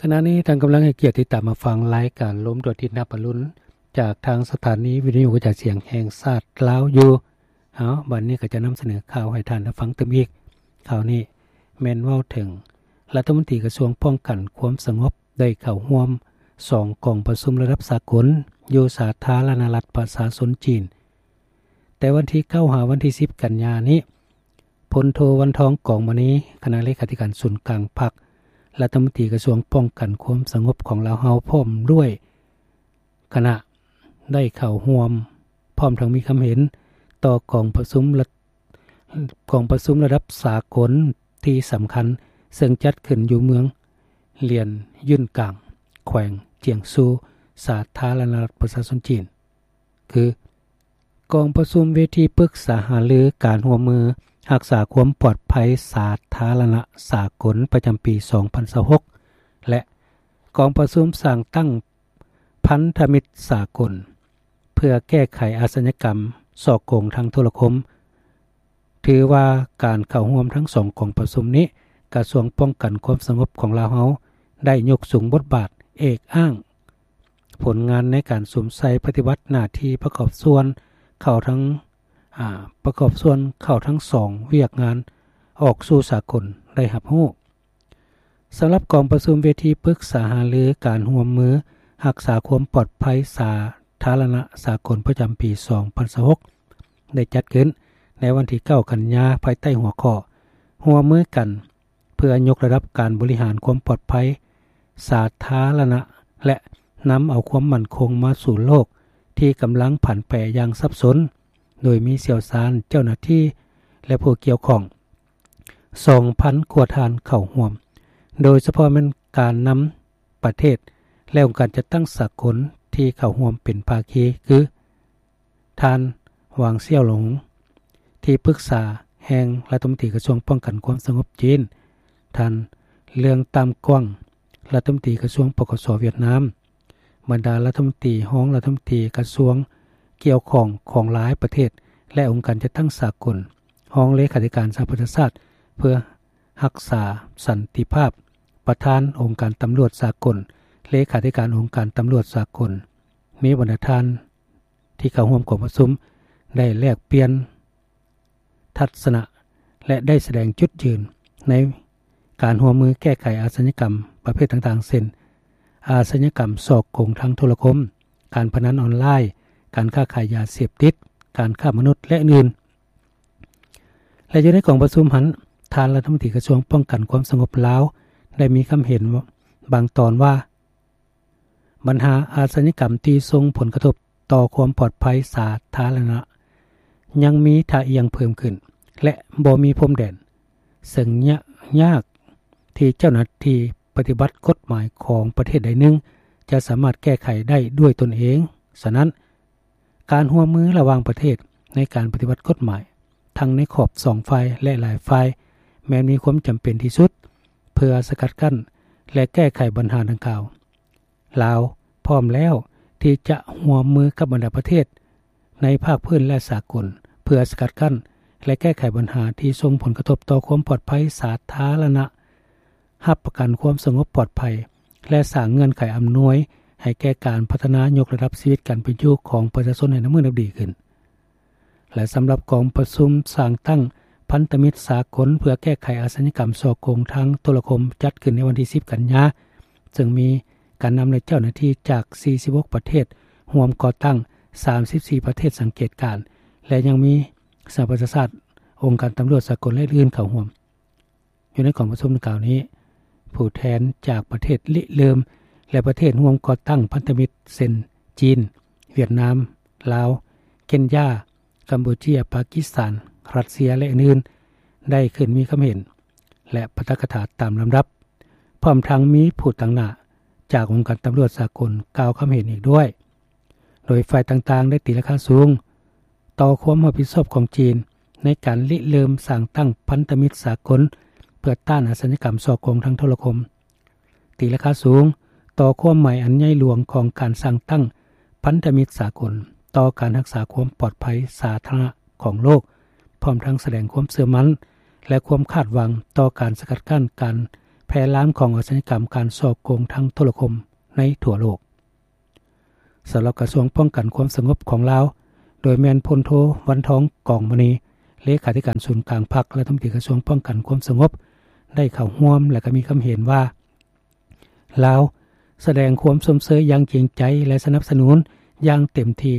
ຂະນະນີ້ທ່ານກຳລັງໃຫ້ກຽດຕິດຕາມມາຟັງລາຍການລົມດວງອາທິດຮັບອະລຸນ ຈາກທາງສະຖານີວິທະຍຸກະຈາຍສຽງແຫ່ງຊາດລາວຢູ່. ເອົາ ບັດນີ້ກໍຈະນຳສະເໜີຂ່າວໃຫ້ທ່ານໄດ້ຟັງຕື່ມອີກ. ຂ່າວນີ້ແມ່ນເວົ້າເຖິງລັດຖະມົນຕີກະຊວງປ້ອງກັນຄວາມສະຫງົບ ໄດ້ເຂົ້າຮ່ວມສອງກອງປະຊຸມລະດັບສາກົນຢູ່ສາທາລະນະລັດປະຊາຊົນຈີນ ແຕ່ວັນທີເກົ້າຫາວັນທີສິບກັນຍານີ້. ພົນໂທ ວັນທອງ ກອງມະນີ ຄະນະເລຂາທິການສູນກາງພັກ, ລັດຖະມົນຕີກະຊວງປ້ອງກັນຄວາມສະຫງົບຂອງລາວເຮົາ ພ້ອມດ້ວຍຄະນະ ໄດ້ເຂົ້າຮ່ວມ ພ້ອມທັງມີຄຳເຫັນຕໍ່ກອງປະຊຸມລະ ກອງປະຊຸມລະດັບສາກົນທີ່ສຳຄັນ ເຊິ່ງຈັດຂຶ້ນຢູ່ເມືອງຫຼຽນຢືນກາງ ແຂວງຈຽງຊູ ສາທາລະນະລັດປະຊາຊົນຈີນ ຄື ກອງປະຊຸມເວທີປຶກສາຫາລືການຮ່ວມມືຮັກສາຄວາມປອດໄພສາທາລະນະສາກົນປະຈຳປີສອງພັນຊາວຫົກ ແລະ ກອງປະຊຸມສ້າງຕັ້ງພັນທະມິດສາກົນ ເພື່ອແກ້ໄຂອາຊະຍາກຳສໍ້ໂກງທາງໂທລະຄົມ. ຖືວ່າການເຂົ້າຮ່ວມທັງສອງກອງປະຊຸມນີ້ ກະຊວງປ້ອງກັນຄວາມສະຫງົບຂອງລາວເຮົາ ໄດ້ຍົກສູງບົດບາດເອກອ້າງ ຜົນງານໃນການສຸມໃສ່ປະຕິບັດໜ້າທີ່ປະກອບສ່ວນເຂົ້າທັງ ອາ ປະກອບສ່ວນເຂົ້າທັງສອງວຽກງານອອກສູ່ສາກົນໄດ້ຮັບຮູ້. ສຳລັບກອງປະຊຸມເວທີປຶກສາຫາລືການຮ່ວມມືຮັກສາຄວາມປອດໄພສາທາລະນະສາກົນປະຈຳປີສອງພັນຊາວຫົກ ໄດ້ຈັດຂຶ້ນໃນວັນທີເກົ້າກັນຍາ ພາຍໃຕ້ຫົວຂໍ້ ຮ່ວມມືກັນ ເພື່ອຍົກລະດັບການບໍລິຫານຄວາມປອດໄພສາທາລະນະ ແລະ ນຳເອົາຄວາມໝັ້ນຄົງມາສູ່ໂລກທີ່ກຳລັງຜັນແປຢ່າງສັບສົນ, ໂດຍມີຊ່ຽວຊານ, ເຈົ້າໜ້າທີ່ ແລະ ຜູ້ກ່ຽວຂ້ອງສອງພັນກວ່າທ່ານເຂົ້າຮ່ວມ, ໂດຍສະເພາະແມ່ນການນຳປະເທດ ແລະ ອົງການຈັດຕັ້ງສາກົນທີ່ເຂົ້າຮ່ວມເປັນພາຄີ ຄື ທ່ານ ຫວາງ ສ່ຽວຫຼງ ທີ່ປຶກສາແຫ່ງລັດຖະມົນຕີກະຊວງປ້ອງກັນຄວາມສະຫງົບຈີນ, ທ່ານ ເລື່ອງ ຕາມກວາງ ລັດຖະມົນຕີກະຊວງ ປກສ ຫວຽດນາມ, ບັນດາລັດຖະມົນຕີ, ຮອງລັດຖະມົນຕີກະຊວງກ່ຽວຂ້ອງຂອງຫຼາຍປະເທດ ແລະ ອົງການຈັດຕັ້ງສາກົນ, ຮອງເລຂາທິການສະຫະປະຊາຊາດເພື່ອຮັກສາສັນຕິພາບ, ປະທານອົງການຕຳຫຼວດສາກົນ, ເລຂາທິການອົງການຕຳຫຼວດສາກົນ, ມີບັນດາທ່ານ ທີ່ເຂົ້າຮ່ວມກອງປະຊຸມໄດ້ແລກປ່ຽນທັດສະນະ ແລະ ໄດ້ສະແດງຈຸດຢືນໃນການຮ່ວມມືແກ້ໄຂອາຊະຍາກຳປະເພດຕ່າງໆ ເຊັ່ນ ອາຊະຍາກຳສໍ້ໂກງທາງໂທລະຄົມ, ການພະນັນອອນລາຍ, ການຄ້າຂາຍຢາເສບຕິດ, ການຄ້າມະນຸດ ແລະ ອື່ນໆ. ແລະ ຢູ່ໃນກອງປະຊຸມຫັ້ນ, ທ່ານລັດຖະມົນຕີກະຊວງປ້ອງກັນຄວາມສະຫງົບລາວ ໄດ້ມີຄຳເຫັນບາງຕອນວ່າ ບັນຫາອາຊະຍາກຳທີ່ສົ່ງຜົນກະທົບຕໍ່ຄວາມປອດໄພສາທາລະນະ ຍັງມີທ່າອ່ຽງເພີ່ມຂຶ້ນ ແລະ ບໍ່ມີພົມແດນ, ເຊິ່ງຍາກ ຍາກທີ່ເຈົ້າໜ້າທີ່ປະຕິບັດກົດໝາຍຂອງປະເທດໃດໜຶ່ງ ຈະສາມາດແກ້ໄຂໄດ້ດ້ວຍຕົນເອງ. ສະນັ້ນ, ການຮ່ວມມືລະຫວ່າງປະເທດໃນການປະຕິບັດກົດໝາຍ ທັງໃນຂອບສອງຝ່າຍ ແລະ ຫຼາຍຝ່າຍ ແມ່ນມີຄວາມຈຳເປັນທີ່ສຸດ ເພື່ອສະກັດກັ້ນ ແລະ ແກ້ໄຂບັນຫາດັ່ງກ່າວ. ລາວພ້ອມແລ້ວທີ່ຈະຮ່ວມມືກັບບັນດາປະເທດໃນພາກພື້ນ ແລະ ສາກົນ ເພື່ອສະກັດກັ້ນ ແລະ ແກ້ໄຂບັນຫາທີ່ສົ່ງຜົນກະທົບຕໍ່ຄວາມປອດໄພສາທາລະນະ, ຮັບປະກັນຄວາມສະຫງົບປອດໄພ ແລະ ສ້າງເງື່ອນໄຂອຳນວຍໃຫ້ແກ່ການພັດທະນາຍົກລະດັບຊີວິດການເປັນຢູ່ຂອງປະຊາຊົນໃຫ້ນັບມື້ນັບດີຂຶ້ນ. ແລະ ສຳລັບກອງປະຊຸມສ້າງຕັ້ງພັນທະມິດສາກົນເພື່ອແກ້ໄຂອາຊະຍາກຳສໍ້ໂກງທາງໂທລະຄົມ ຈັດຂຶ້ນໃນວັນທີສິບກັນຍາ, ເຊິ່ງມີການນຳ ແລະ ເຈົ້າໜ້າທີ່ຈາກສີ່ສິບຫົກປະເທດຮ່ວມກໍ່ຕັ້ງ, ສາມສິບສີ່ປະເທດສັງເກດການ ແລະ ຍັງມີສະຫະປະຊາຊາດ, ອົງການຕຳຫຼວດສາກົນ ແລະ ອື່ນໆ ເຂົ້າຮ່ວມ. ຢູ່ໃນກອງປະຊຸມດັ່ງກ່າວນີ້, ຜູ້ແທນຈາກປະເທດລິເລີ່ມ ແລະ ປະເທດຮ່ວມກໍ່ຕັ້ງພັນທະມິດ ເຊັ່ນ ຈີນ, ຫວຽດນາມ, ລາວ, ເຄນຢາ, ກຳປູເຈຍ, ປາກິສຖານ, ຣັດເຊຍ ແລະ ອື່ນໆ ໄດ້ຂຶ້ນມີຄຳເຫັນ ແລະ ປາຖະກະຖາຕາມລຳດັບ, ພ້ອມທັງມີຜູ້ຕາງໜ້າຈາກອົງການຕຳຫຼວດສາກົນກ່າວຄຳເຫັນອີກດ້ວຍ. ໂດຍຝ່າຍຕ່າງໆ ໄດ້ຕີລາຄາສູງຕໍ່ຄວາມຮັບຜິດຊອບຂອງຈີນໃນການລິເລີ່ມສ້າງຕັ້ງພັນທະມິດສາກົນ ເພື່ອຕ້ານອາຊະຍາກຳສໍ້ໂກງທາງໂທລະຄົມ, ຕີລາຄາສູງຕໍ່ຄວາມໝາຍອັນໃຫຍ່ຫຼວງຂອງການສ້າງຕັ້ງພັນທະມິດສາກົນ ຕໍ່ການຮັກສາຄວາມປອດໄພສາທາລະນະຂອງໂລກ, ພ້ອມທັງສະແດງຄວາມເຊື່ອໝັ້ນ ແລະ ຄວາມຄາດຫວັງຕໍ່ການສະກັດກັ້ນການ ແຜ່ລາມຂອງອາຊະຍາກຳການສໍ້ໂກງທາງໂທລະຄົມໃນທົ່ວໂລກ. ສຳລັບກະຊວງປ້ອງກັນຄວາມສະຫງົບຂອງລາວ ໂດຍແມ່ນພົນໂທ ວັນທອງ ກອງມະນີ ເລຂາທິການສູນກາງພັກ ລັດຖະມົນຕີກະຊວງປ້ອງກັນຄວາມສະຫງົບ ໄດ້ເຂົ້າຮ່ວມ ແລະ ກໍມີຄຳເຫັນວ່າ ລາວສະແດງຄວາມຊົມເຊີຍຢ່າງຈິງໃຈ ແລະ ສະໜັບສະໜູນຢ່າງເຕັມທີ່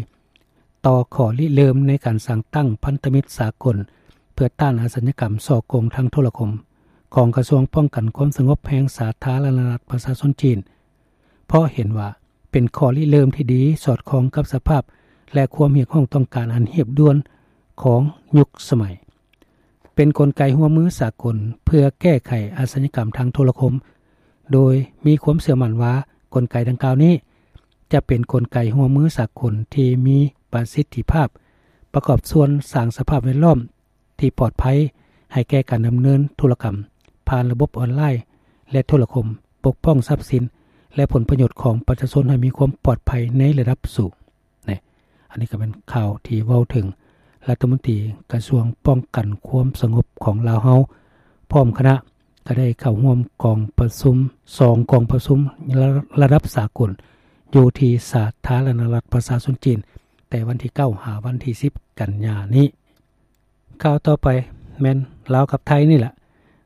ຕໍ່ຂໍ້ລິເລີ່ມໃນການສ້າງຕັ້ງພັນທະມິດສາກົນ ເພື່ອຕ້ານອາຊະຍາກຳສໍ້ໂກງທາງໂທລະຄົມ ຂອງກະຊວງປ້ອງກັນຄວາມສະຫງົບແຫ່ງສາທາລະນະລັດປະຊາຊົນຈີນ, ເພາະເຫັນວ່າເປັນຂໍ້ລິເລີ່ມທີ່ດີ ສອດຄ່ອງກັບສະພາບ ແລະ ຄວາມຮຽກຮ້ອງຕ້ອງການອັນຮີບດ່ວນຂອງຍຸກສະໄໝ. ເປັນກົນໄກຮ່ວມມືສາກົນເພື່ອແກ້ໄຂອາຊະຍາກຳທາງໂທລະຄົມ, ໂດຍມີຄວາມເຊື່ອໝັ້ນວ່າກົນໄກດັ່ງກ່າວນີ້ຈະເປັນກົນໄກຮ່ວມມືສາກົນທີ່ມີປະສິດທິພາບ, ປະກອບສ່ວນສ້າງສະພາບແວດລ້ອມທີ່ປອດໄພໃຫ້ແກ່ການດຳເນີນທຸລະກຳຜ່ານລະບົບອອນລາຍ ແລະ ໂທລະຄົມ, ປົກປ້ອງຊັບສິນ ແລະ ຜົນປະໂຫຍດຂອງປະຊາຊົນໃຫ້ມີຄວາມປອດໄພໃນລະດັບສູງ. ນີ້ ອັນນີ້ກໍເປັນຂ່າວທີ່ເວົ້າເຖິງລັດຖະມົນຕີກະຊວງປ້ອງກັນຄວາມສະຫງົບຂອງລາວເຮົາ ພ້ອມຄະນະ ກໍໄດ້ເຂົ້າຮ່ວມກອງປະຊຸມ ສອງກອງປະຊຸມລະ ລະດັບສາກົນ ຢູ່ທີ່ສາທາລະນະລັດປະຊາຊົນຈີນ ແຕ່ວັນທີເກົ້າ ຫາວັນທີສິບ ກັນຍານີ້. ຂ່າວຕໍ່ໄປແມ່ນລາວກັບໄທນີ້ແຫຼະ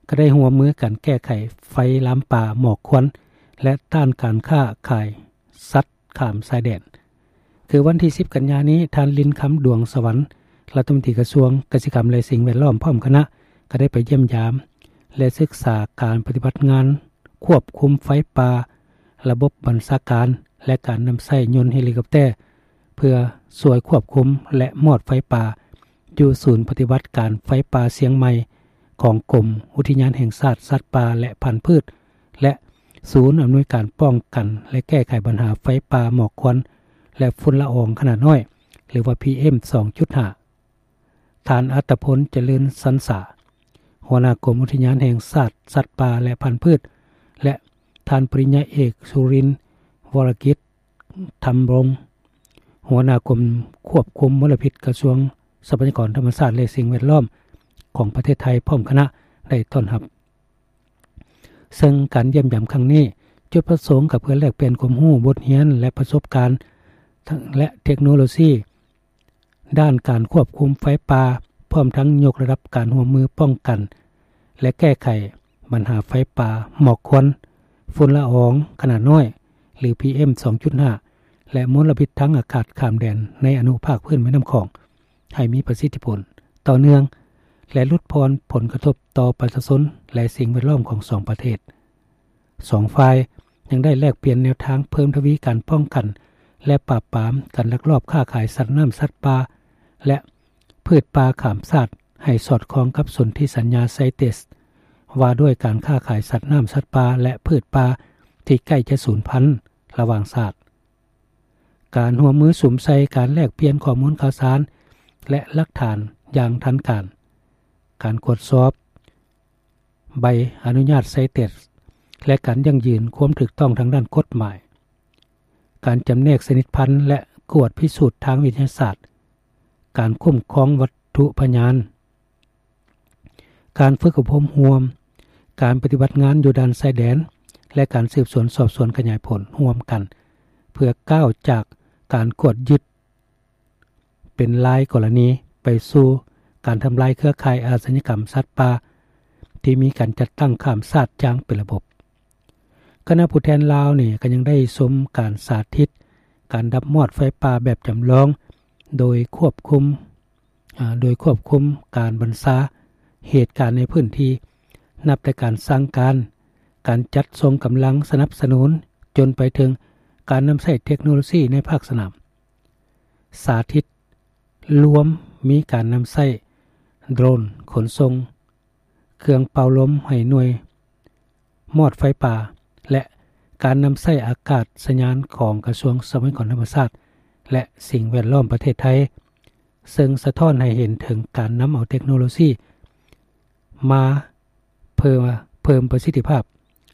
ກໍໄດ້ຮ່ວມມືກັນແກ້ໄຂໄຟລາມປ່າ, ໝອກຄວັນ ແລະ ຕ້ານການຄ້າຂາຍສັດຂ້າມຊາຍແດນ. ຄືວັນທີສິບ ກັນຍານີ້, ທ່ານ ລິນຄຳ ດວງສະຫວັນ ລັດຖະມົນຕີກະຊວງກະສິກຳ ແລະ ສິ່ງແວດລ້ອມ ພ້ອມຄະນະ ກໍໄດ້ໄປຢ້ຽມຢາມ ແລະ ສຶກສາການປະຕິບັດງານຄວບຄຸມໄຟປ່າ, ລະບົບບັນຊາການ ແລະ ການນຳໃຊ້ຍົນເຮລິຄອບແຕ ເພື່ອຊ່ວຍຄວບຄຸມ ແລະ ມອດໄຟປ່າ ຢູ່ສູນປະຕິບັດການໄຟປ່າຊຽງໃໝ່ ຂອງກົມອຸທິຍານແຫ່ງຊາດສັດປ່າ ແລະ ພັນພືດ ແລະ ສູນອຳນວຍການປ້ອງກັນ ແລະ ແກ້ໄຂບັນຫາໄຟປ່າ, ໝອກຄວັນ ແລະ ຝຸ່ນລະອອງຂະໜາດນ້ອຍ ຫຼືວ່າ ພີເອັມ ສອງຈຸດຫ້າ. ທ່ານ ອັດຕະພົນ ຈະເລີນສັນສາ ຫົວໜ້າກົມອຸທິຍານແຫ່ງຊາດສັດປ່າ ແລະ ພັນພືດ ແລະ ທ່ານ ປະລິນຍາເອກ ສຸລິນ ວໍລະກິດ ທຳລົງ ຫົວໜ້າກົມຄວບຄຸມມົນລະພິດ ກະຊວງຊັບພະຍາກອນທຳມະຊາດ ແລະ ສິ່ງແວດລ້ອມຂອງປະເທດໄທ ພ້ອມຄະນະ ໄດ້ຕ້ອນຮັບ. ເຊິ່ງການຢ້ຽມຢາມຄັ້ງນີ້ ຈຸດປະສົງກໍເພື່ອແລກປ່ຽນຄວາມຮູ້, ບົດຮຽນ ແລະ ປະສົບການ ແລະ ເທັກໂນໂລຊີ ດ້ານການຄວບຄຸມໄຟປ່າ, ພ້ອມທັງຍົກລະດັບການຮ່ວມມືປ້ອງກັນ ແລະ ແກ້ໄຂບັນຫາໄຟປ່າ, ໝອກຄວັນ, ຝຸ່ນລະອອງຂະໜາດນ້ອຍ ຫຼື ພີເອັມ ສອງຈຸດຫ້າ ແລະ ມົນລະພິດທາງອາກາດຂ້າມແດນໃນອະນຸພາກພື້ນແມ່ນ້ຳຂອງ ໃຫ້ມີປະສິດທິຜົນ, ຕໍ່ເນື່ອງ ແລະ ຫຼຸດຜ່ອນຜົນກະທົບຕໍ່ປະຊາຊົນ ແລະ ສິ່ງແວດລ້ອມຂອງສອງປະເທດ. ສອງຝ່າຍຍັງໄດ້ແລກປ່ຽນແນວທາງເພີ່ມທະວີການປ້ອງກັນ ແລະ ປາບປາມການລັກລອບຄ້າຂາຍສັດນ້ຳ, ສັດປ່າ ແລະ ພືດປ່າຂ້າມຊາດ ໃຫ້ສອດຄ່ອງກັບສົນທິສັນຍາໄຊເຕສ ວ່າດ້ວຍການຄ້າຂາຍສັດນ້ຳ, ສັດປ່າ ແລະ ພືດປ່າທີ່ໃກ້ຈະສູນພັນລະຫວ່າງຊາດ. ການຮ່ວມມືສຸມໃສ່ການແລກປ່ຽນຂໍ້ມູນຂ່າວສານ ແລະ ຫຼັກຖານຢ່າງທັນການ, ການກວດສອບໃບອະນຸຍາດໄຊເຕສ ແລະ ການຢັ້ງຢືນຄວາມຖືກຕ້ອງທາງດ້ານກົດໝາຍ, ການຈຳແນກຊະນິດພັນ ແລະ ກວດພິສູດທາງວິທະຍາສາດ, ການຄຸ້ມຄອງວັດຖຸພະຍານ, ການຝຶກອົບຮົມຮ່ວມ, ການປະຕິບັດງານຢູ່ດ່ານຊາຍແດນ ແລະ ການສືບສວນສອບສວນຂະຫຍາຍຜົນຮ່ວມກັນ ເພື່ອກ້າວຈາກການກວດຍຶດເປັນລາຍກໍລະນີ ໄປສູ່ການທຳລາຍເຄືອຂ່າຍອາຊະຍາກຳສັດປ່າທີ່ມີການຈັດຕັ້ງຂ້າມຊາດຢ່າງເປັນລະບົບ. ຄະນະຜູ້ແທນລາວນີ້ກໍຍັງໄດ້ຊົມການສາທິດການດັບມອດໄຟປ່າແບບຈຳລອງ ໂດຍຄວບຄຸມ ອາ ໂດຍຄວບຄຸມການບັນຊາເຫດການໃນພື້ນທີ່, ນັບແຕ່ການສັ່ງການ, ການຈັດສົ່ງກຳລັງສະໜັບສະໜູນ, ຈົນໄປເຖິງການນຳໃຊ້ເທັກໂນໂລຊີໃນພາກສະໜາມ. ສາທິດລວມມີການນຳໃຊ້ໂດຣນຂົນສົ່ງ, ເຄື່ອງເປົ່າລົມໃຫ້ໜ່ວຍມອດໄຟປ່າ ແລະ ການນຳໃຊ້ອາກາດສະຍານຂອງກະຊວງຊັບພະຍາກອນທຳມະຊາດ ແລະ ສິ່ງແວດລ້ອມປະເທດໄທ, ເຊິ່ງສະທ້ອນໃຫ້ເຫັນເຖິງການນຳເອົາເທັກໂນໂລຊີມາເພີ່ມ ເພີ່ມປະສິດທິພາບ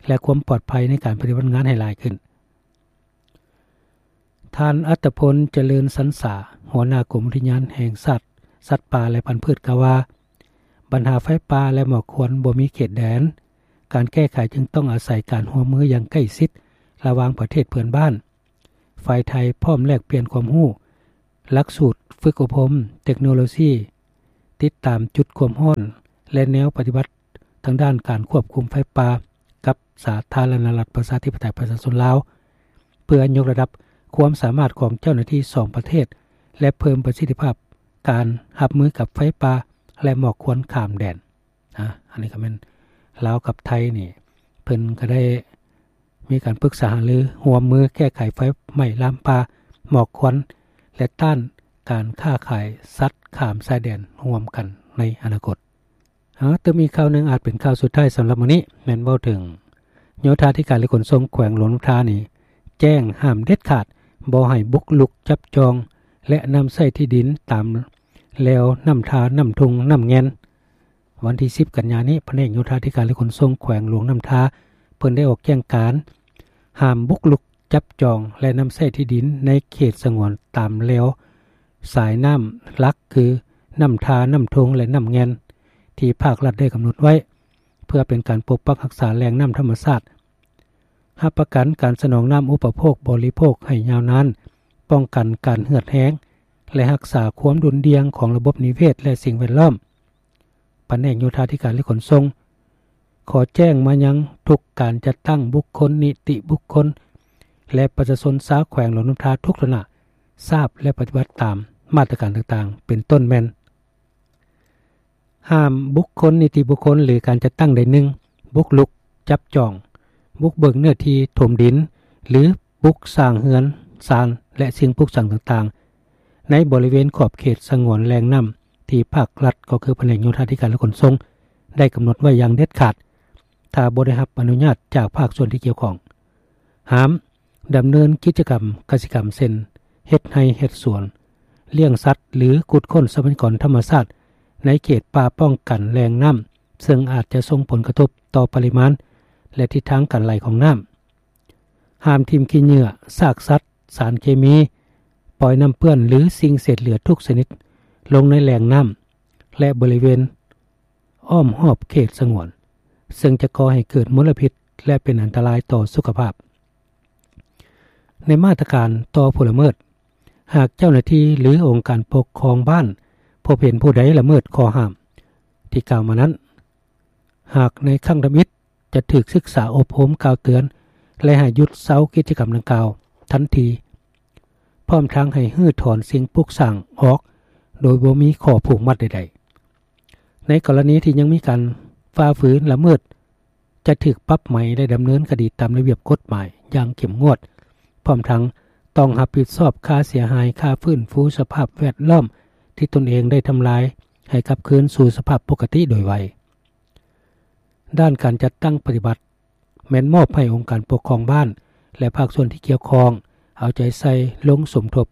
ແລະ ຄວາມປອດໄພໃນການປະຕິບັດງານໃຫ້ຫຼາຍຂຶ້ນ. ທ່ານ ອັດຕະພົນ ຈະເລີນສັນສາ ຫົວໜ້າກົມອຸທິຍານແຫ່ງຊາດສັດປ່າ ແລະ ພັນພືດ ກ່າວວ່າ ບັນຫາໄຟປ່າ ແລະ ໝອກຄວັນບໍ່ມີເຂດແດນ, ການແກ້ໄຂຈຶ່ງຕ້ອງອາໄສການຮ່ວມມືຢ່າງໃກ້ຊິດລະຫວ່າງປະເທດເພື່ອນບ້ານ. ຝ່າຍໄທພ້ອມແລກປ່ຽນຄວາມຮູ້, ຫຼັກສູດຝຶກອົບຮົມ, ເຕັກໂນໂລຊີ, ຕິດຕາມຈຸດຄວາມຮ້ອນ ແລະ ແນວປະຕິບັດທາງດ້ານການຄວບຄຸມໄຟປ່າກັບສາທາລະນະລັດປະຊາທິປະໄຕປະຊາຊົນລາວ ເພື່ອຍົກລະດັບຄວາມສາມາດຂອງເຈົ້າໜ້າທີ່ສອງປະເທດ ແລະ ເພີ່ມປະສິດທິພາບການຮັບມືກັບໄຟປ່າ ແລະ ໝອກຄວັນຂ້າມແດນ. ອາ ອັນນີ້ກໍແມ່ນລາວກັບໄທນີ້ ເພິ່ນກໍໄດ້ມີການປຶກສາຫາລືຮ່ວມມືແກ້ໄຂໄຟໄໝ້ລາມປ່າ, ໝອກຄວັນ ແລະ ຕ້ານການຄ້າຂາຍສັດຂ້າມຊາຍແດນຮ່ວມກັນໃນອະນາຄົດ. ເອີ ຕື່ມອີກຂ່າວໜຶ່ງ ອາດເປັນຂ່າວສຸດທ້າຍສຳລັບມື້ນີ້ ແມ່ນເວົ້າເຖິງໂຍທາທິການ ແລະ ຂົນສົ່ງແຂວງຫຼວງນ້ຳທານີ້ ແຈ້ງຫ້າມເດັດຂາດບໍ່ໃຫ້ບຸກລຸກຈັບຈອງ ແລະ ນຳໃຊ້ທີ່ດິນຕາມແລວນ້ຳທາ, ນ້ຳທຸ່ງ, ນ້ຳແງ່ນ. ວັນທີສິບກັນຍານີ້ ພະແນກໂຍທາທິການ ແລະ ຂົນສົ່ງແຂວງຫຼວງນ້ຳທາ ເພິ່ນໄດ້ອອກແຈ້ງການຫ້າມບຸກລຸກ ຈັບຈອງ ແລະ ນຳໃຊ້ທີ່ດິນໃນເຂດສະຫງວນຕາມແລວສາຍນ້ຳຫຼັກ ຄື ນ້ຳທາ, ນ້ຳທຸ່ງ ແລະ ນ້ຳແງ່ນ ທີ່ພາກລັດໄດ້ກຳນົດໄວ້ ເພື່ອເປັນການປົກປັກຮັກສາແຫຼ່ງນ້ຳທຳມະຊາດ, ຮັບປະກັນການສະໜອງນ້ຳອຸປະໂພກບໍລິໂພກໃຫ້ຍາວນານ, ປ້ອງກັນການເຫືອດແຮງ ແລະ ຮັກສາຄວາມດຸ່ນດ່ຽງຂອງລະບົບນິເວດ ແລະ ສິ່ງແວດລ້ອມ. ພະແນກໂຍທາທິການ ແລະ ຂົນສົ່ງ ຂໍແຈ້ງມາຍັງທຸກການຈັດຕັ້ງບຸກຄົນ, ນິຕິບຸກຄົນ ແລະ ປະຊາຊົນຊາວແຂວງຫຼວງນ້ຳທາທຸກຖານະ ຊາບ ແລະ ປະຕິບັດຕາມມາດຕະການຕ່າງໆ ເປັນຕົ້ນແມ່ນ ຫ້າມບຸກຄົນ, ນິຕິບຸກຄົນ ຫຼື ການຈັດຕັ້ງໃດໜຶ່ງ ບຸກລຸກ, ຈັບຈອງ, ບຸກເບີກເນື້ອທີ່ຖົມດິນ ຫຼື ປຸກສ້າງເຮືອນຊານ ແລະ ສິ່ງປຸກສ້າງຕ່າງໆ ໃນບໍລິເວນຂອບເຂດສະຫງວນແຫຼ່ງນ້ຳ ທີ່ພາກລັດ ກໍຄືພະແນກໂຍທາທິການ ແລະ ຂົນສົ່ງ ໄດ້ກຳນົດໄວ້ຢ່າງເດັດຂາດ ຖ້າບໍ່ໄດ້ຮັບອະນຸຍາດຈາກພາກສ່ວນທີ່ກ່ຽວຂ້ອງ. ຫ້າມດຳເນີນກິດຈະກຳກະສິກຳ ເຊັ່ນ ເຮັດໄຮ່ເຮັດສວນ, ລ້ຽງສັດ ຫຼື ຂຸດຄົ້ນຊັບພະຍາກອນທຳມະຊາດໃນເຂດປ່າປ້ອງກັນແຫຼ່ງນ້ຳ ເຊິ່ງອາດຈະສົ່ງຜົນກະທົບຕໍ່ປະລິມານ ແລະ ທິດທາງການໄຫຼຂອງນ້ຳ. ຫ້າມຖິ້ມຂີ້ເຫຍື້ອ, ຊາກສັດ, ສານເຄມີ, ປ່ອຍນ້ຳເປື້ອນ ຫຼື ສິ່ງເສດເຫຼືອທຸກຊະນິດລົງໃນແຫຼ່ງນ້ຳ ແລະ ບໍລິເວນອ້ອມຮອບເຂດສະຫງວນ ເຊິ່ງຈະກໍ່ໃຫ້ເກີດມົນລະພິດ ແລະ ເປັນອັນຕະລາຍຕໍ່ສຸຂະພາບ. ໃນມາດຕະການຕໍ່ຜູ້ລະເມີດ, ຫາກເຈົ້າໜ້າທີ່ ຫຼື ອົງການປົກຄອງບ້ານພົບເຫັນຜູ້ໃດລະເມີດຂໍ້ຫ້າມທີ່ກ່າວມານັ້ນ, ຫາກໃນຄັ້ງທຳອິດ ຈະຖືກສຶກສາອົບຮົມກ່າວເຕືອນ ແລະ ໃຫ້ຢຸດເຊົາກິດຈະກຳດັ່ງກ່າວທັນທີ, ພ້ອມທັງໃຫ້ຮື້ຖອນສິ່ງປຸກສ້າງອອກໂດຍບໍ່ມີຂໍ້ຜູກມັດໃດໆ. ໃນກໍລະນີທີ່ຍັງມີການຝ່າຝືນລະເມີດ, ຈະຖືກປັບໃໝ ແລະ ດຳເນີນຄະດີຕາມລະບຽບກົດໝາຍຢ່າງເຂັ້ມງວດ, ພ້ອມທັງຕ້ອງຮັບຜິດຊອບຄ່າເສຍຫາຍ, ຄ່າຟື້ນຟູສະພາບແວດລ້ອມທີ່ຕົນເອງໄດ້ທຳລາຍ ໃຫ້ກັບຄືນສູ່ສະພາບປົກກະຕິໂດຍໄວ. ດ້ານການຈັດຕັ້ງປະຕິບັດ ແມ່ນມອບໃຫ້ອົງການປົກຄອງບ້ານ ແລະ ພາກສ່ວນທີ່ກ່ຽວຂ້ອງ ເອົາໃຈໃສ່ລົງສົມທົບ,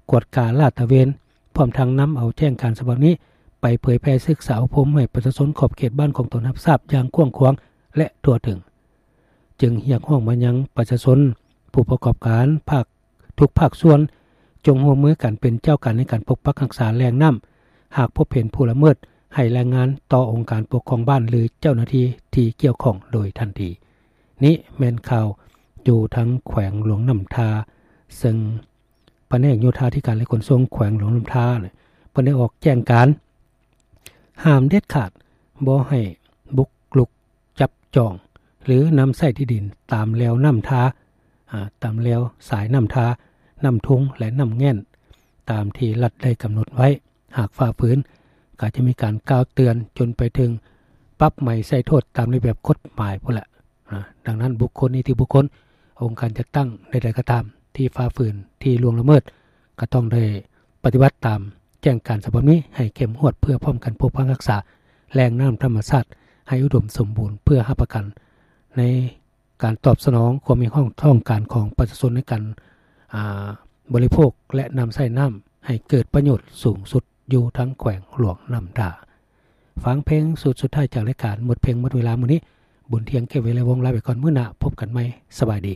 ກວດກາລາດຕະເວນ, ພ້ອມທັງນຳເອົາແຈ້ງການສະບັບນີ້ໄປເຜີຍແຜ່ສຶກສາອົບຮົມໃຫ້ປະຊາຊົນຂອບເຂດບ້ານຂອງຕົນຮັບຊາບຢ່າງກວ້າງຂວາງ ແລະ ທົ່ວເຖິງ. ຈຶ່ງຮຽກຮ້ອງມາຍັງປະຊາຊົນ, ຜູ້ປະກອບການ, ພາກ ທຸກພາກສ່ວນ ຈົ່ງຮ່ວມມືກັນເປັນເຈົ້າການໃນການປົກປັກຮັກສາແຫຼ່ງນ້ຳ. ຫາກພົບເຫັນຜູ້ລະເມີດ ໃຫ້ລາຍງານຕໍ່ອົງການປົກຄອງບ້ານ ຫຼື ເຈົ້າໜ້າທີ່ທີ່ກ່ຽວຂ້ອງໂດຍທັນທີ. ນີ້ແມ່ນຂ່າວຢູ່ທາງແຂວງຫຼວງນ້ຳທາ, ເຊິ່ງພະແນກໂຍທາທິການ ແລະ ຂົນສົ່ງແຂວງຫຼວງນ້ຳທາ ເພິ່ນໄດ້ອອກແຈ້ງການ ຫ້າມເດັດຂາດບໍ່ໃຫ້ບຸກລຸກ ຈັບຈອງ ຫຼື ນຳໃຊ້ທີ່ດິນຕາມແລວນ້ຳທາ, ອາ, ຕາມແລວສາຍນ້ຳທາ, ນ້ຳທຸ່ງ ແລະ ນ້ຳແງ່ນ ຕາມທີ່ລັດໄດ້ກຳນົດໄວ້. ຫາກຝ່າຝືນ ກໍຈະມີການກ່າວເຕືອນຈົນໄປເຖິງປັບໃໝໃສ່ໂທດຕາມລະບຽບກົດໝາຍພຸ້ນແຫຼະ. ອາ, ດັ່ງນັ້ນ ບຸກຄົນ, ນິຕິບຸກຄົນ, ອົງການຈັດຕັ້ງໃດໆກໍຕາມ ທີ່ຝ່າຝືນ, ທີ່ລ່ວງລະເມີດ ກໍຕ້ອງໄດ້ປະຕິບັດຕາມແຈ້ງການສະບັບນີ້ໃຫ້ເຂັ້ມງວດ ເພື່ອພ້ອມກັນປົກປັກຮັກສາແຫຼ່ງນ້ຳທຳມະຊາດໃຫ້ອຸດົມສົມບູນ ເພື່ອຮັບປະກັນໃນການຕອບສະໜອງຄວາມຮຽກຮ້ອງຕ້ອງການຂອງປະຊາຊົນໃນການ, ອາ, ບໍລິໂພກ ແລະ ນຳໃຊ້ນ້ຳໃຫ້ເກີດປະໂຫຍດສູງສຸດຢູ່ທັງແຂວງຫຼວງນ້ຳທາ. ຟັງເພງຊຸດສຸດທ້າຍຈາກລາຍການໝົດເພງໝົດເວລາມື້ນີ້. ບຸນທຽງ ເກດເວ ແລະ ວົງ ລາໄປກ່ອນ, ມື້ໜ້າພົບກັນໃໝ່. ສະບາຍດີ.